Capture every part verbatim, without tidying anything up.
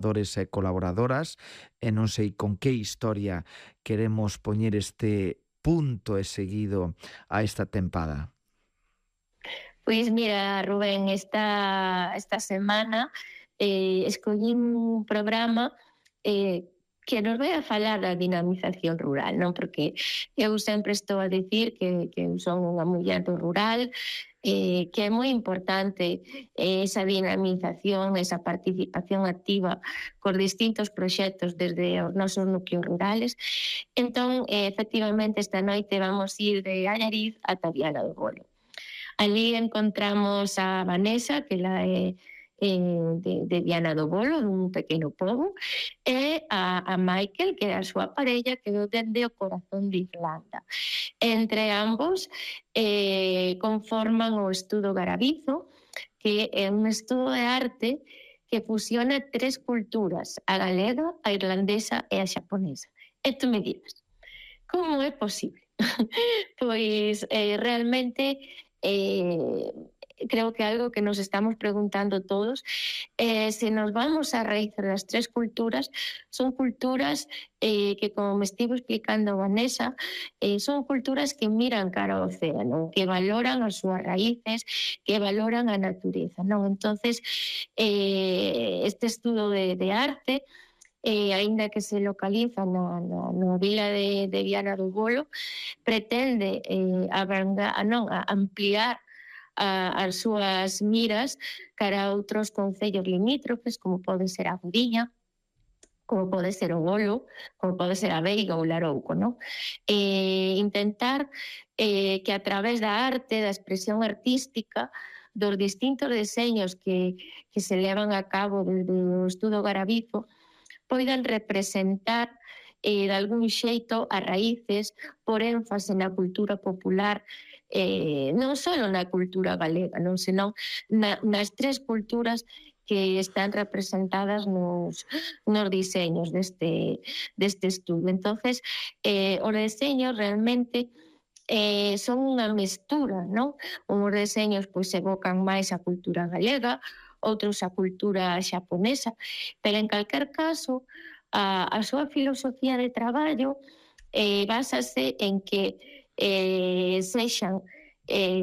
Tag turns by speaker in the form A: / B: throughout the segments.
A: colaboradores e colaboradoras, e non sei con que historia queremos poñer este punto e seguido a esta tempada.
B: Pois mira, Rubén, esta, esta semana eh, escollín un programa eh, que nos vai a falar da dinamización rural, non? Porque eu sempre estou a dicir que, que eu son unha muller do rural, eh, que é moi importante esa dinamización, esa participación activa cos distintos proxectos desde os nosos núcleos rurales. Entón, eh, efectivamente, esta noite vamos ir de Allariz ata Viana do Bolo. Allí encontramos a Vanessa, que ela é eh, de, de Viana do Bolo, dun pequeno pobo, e a, a Michael, que é a súa parella, que é dende o corazón de Irlanda. Entre ambos eh, conforman o estudo Garabizo, que é un estudo de arte que fusiona tres culturas, a galega, a irlandesa e a xaponesa. E tú me dirás, como é posible? Pois eh, realmente eh, creo que algo que nos estamos preguntando todos, eh, se nos vamos a raíz das tres culturas, son culturas eh, que, como me estivo explicando Vanessa, eh, son culturas que miran cara ao océano, que valoran as súas raíces, que valoran a natureza, non? Entonces, eh, este estudo de, de arte, eh, aínda que se localiza na, na, na vila de, de Viana do Bolo, pretende eh, abranga, non, a ampliar a, as súas miras cara a outros concellos limítrofes, como pode ser a Guriña, como pode ser o Bolo, como pode ser a Veiga ou Larouco, non? Eh, intentar eh, que a través da arte, da expresión artística, dos distintos deseños que, que se levan a cabo desde o estudo Garabizo, poidan representar eh, de algún xeito as raíces, por énfase na cultura popular, eh, non só na cultura galega, non, senón na, nas tres culturas que están representadas nos, nos diseños deste, deste estudo. Entonces, eh, os deseños realmente eh, son unha mestura, non? Uns deseños pois evocan máis a cultura galega, outros a cultura xaponesa, pero en calquer caso a, a súa filosofía de traballo eh, básase en que eh, sexan eh,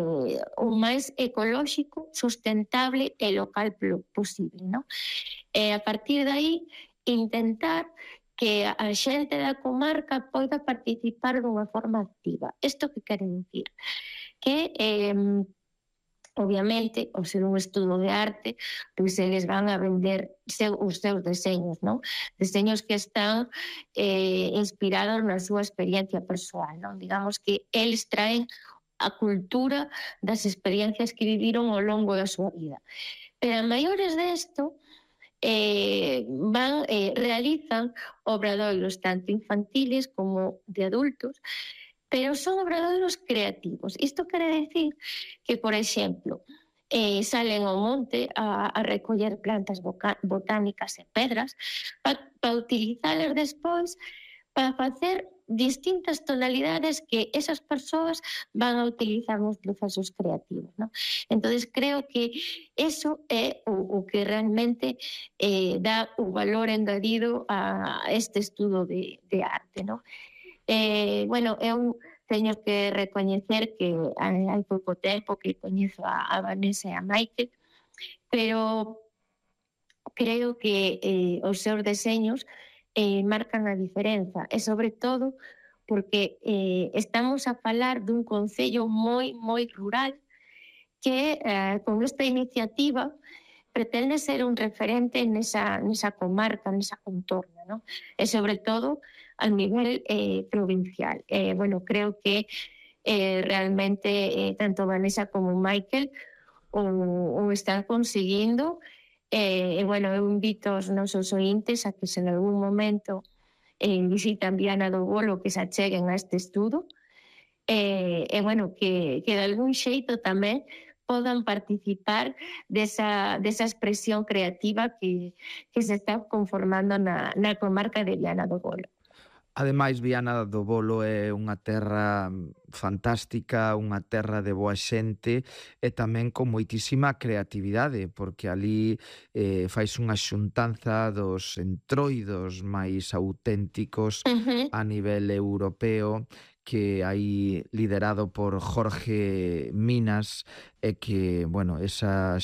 B: o máis ecolóxico, sustentable e local posible, non? E a partir de aí intentar que a xente da comarca poida participar dunha forma activa. Isto que quere dicir? Que eh, obviamente, ao ser un estudo de arte, pois eles van a vender seu, os seus deseños, non? Deseños que están eh, inspirados na súa experiencia persoal, non? Digamos que eles traen a cultura das experiencias que viviron ao longo da súa vida. Pero a maiores desto, eh, van, eh, realizan obradoiros tanto infantiles como de adultos, pero son obradoiros creativos. Isto quere decir que, por exemplo, eh, salen ao monte a, a recoller plantas boca, botánicas e pedras para pa utilizalas despois para facer distintas tonalidades que esas persoas van a utilizar nos procesos creativos, ¿no? Entonces creo que eso é o, o que realmente eh, dá o valor engadido a este estudo de, de arte, ¿no? Eh, bueno, eu teño que recoñecer que hai, hai pouco tempo que coñezo a, a Vanessa e a Michael, pero creo que eh, os seus deseños eh, marcan a diferenza, e sobre todo porque eh, estamos a falar dun concello moi, moi rural que eh, con esta iniciativa pretende ser un referente nesa, nesa comarca, nesa contorna, ¿no? E sobre todo a nivel eh, provincial. Eh, bueno, creo que eh, realmente eh, tanto Vanessa como Michael o, o están conseguindo. E, eh, bueno, eu invito aos nosos ointes a que se en algún momento eh, visitan Viana do Bolo, que se acheguen a este estudo, e, eh, eh, bueno, que, que de algún xeito tamén podan participar desa, desa expresión creativa que, que se está conformando na, na comarca de Viana do Bolo.
A: Ademais, Viana do Bolo é unha terra fantástica, unha terra de boa xente e tamén con moitísima creatividade, porque ali eh, fais unha xuntanza dos entroidos máis auténticos
B: Ujú.
A: a nivel europeo, que aí liderado por Jorge Minas, e que, bueno, esa